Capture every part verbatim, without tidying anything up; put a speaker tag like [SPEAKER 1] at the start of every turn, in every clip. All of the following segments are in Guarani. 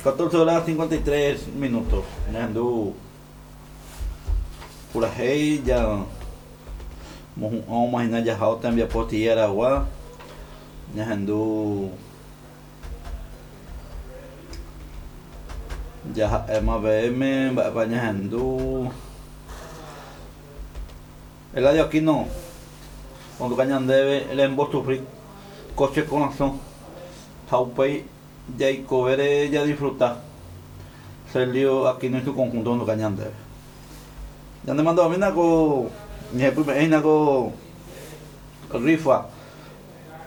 [SPEAKER 1] catorce horas cincuenta y tres minutos. Ñahendu purahéi ja mohu'ã hína jaha tembiapo Aragua. Ñahendu jaha'éma peẽme mba'épa ñahendu. Eladio Aquino onduka ñandéve rembosufri ko che korasõ ha upéi jaikovére jadisfruta. Celio Aquino y su conjunto onduka ñandéve. Ñanemandu'amína ko ñehepyme'ẽhína ko rifa.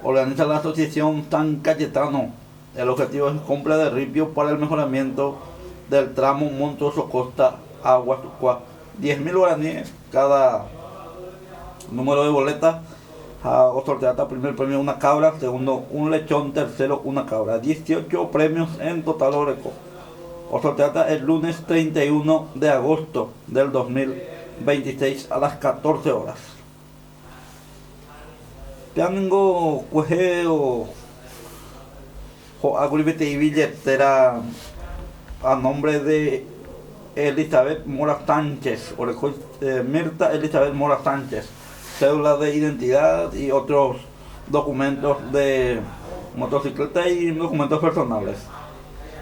[SPEAKER 1] Organiza la asociación San Cayetano. El objetivo es compra de ripio para el mejoramiento del tramo Montoso Costa Aguasucua. diez mil guaraníes cada número de boleta. O sorteata primer premio una cabra, segundo un lechón, tercero una cabra. dieciocho premios en total oreco. O sorteata el lunes treinta y uno de agosto del dos mil veintiséis a las catorce horas. Tengo cuejeo o aguribete y billetera a nombre de Elizabeth Mora Sánchez, o eh, Mirta Elizabeth Mora Sánchez, cédula de identidad y otros documentos de motocicleta y documentos personales.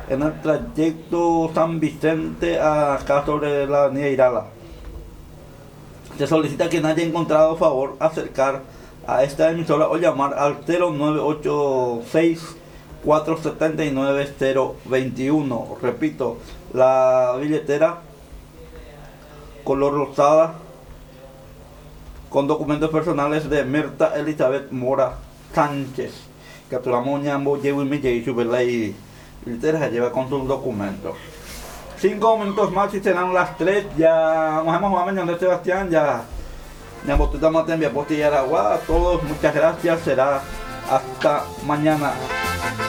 [SPEAKER 1] En el trayecto San Vicente acá sobre la avenida Irala. Se solicita quien haya encontrado favor acercar a esta emisora o llamar al cero nueve ocho seis cuatro setenta y nueve cero veintiuno. Repito, la billetera color rosada con documentos personales de Mirta Elizabeth Mora Sánchez. Capturamos ñambo, llevo y me llevo y billetera se lleva con sus documentos. Cinco minutos más y serán las tres. Ya nos hemos jugado mañana, Sebastián. Ya. A todos, muchas gracias. Será hasta mañana.